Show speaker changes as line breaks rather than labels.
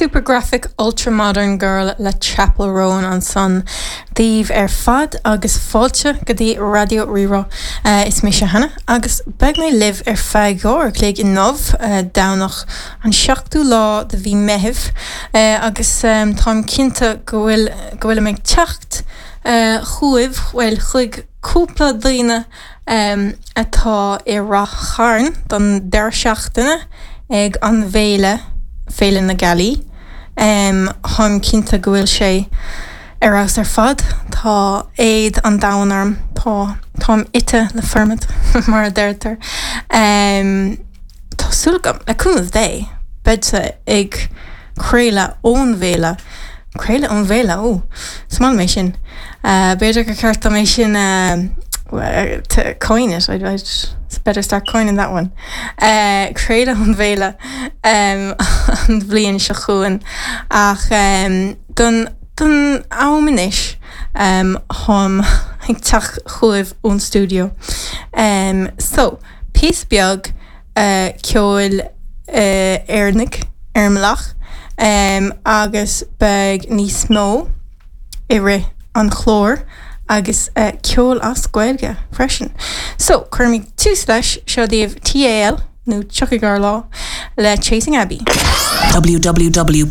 Supergraphic Ultramodern Girl le Chappell Roan ansan daoibh ar fad agus fáilte go dtí Raidió Rí-Rá. Is mise Hannah agus beidh mé libh ar feadh 2 uair a chloig inniu, Domhnach an 7ú lá de mhí Meithimh agus táim cinnte go bhfuil go bhfuilim ag teacht chugaibh, bhuel chuig cúpla daoine atá i Rath Chairn don deireadh seachtaine ag an bhféile, Féile na Gealaí. Táim cinnte go bhfuil sé ar fheabhas ar fad. Tá éad an domhain orm. Tá, táim ite le formad, mar a deirtear. Tá súil agam, le cúnamh Dé, beidhse ag craoladh ón bhféile. Craoladh ón bhféile, ó, is maith liom é sin. B'fhéidir gur ceart dom é sin a, to coin it, I'd, I'd better start coining that one. Craoladh ón bhféile an bhliain seo chugainn ach don, don am anois táim ag teacht chugaibh ón stiúideo. So, píosa beag ceoil Éireannaigh ar an mbealach agus beidh níos mó i rith an chláir agus ceol as Gaeilge freisin. So, cuirfimid tús leis, seo daoibh TAL, nó Tiocfaidh Ár Lá, le Chasing Abbey.
www.rrr.ie.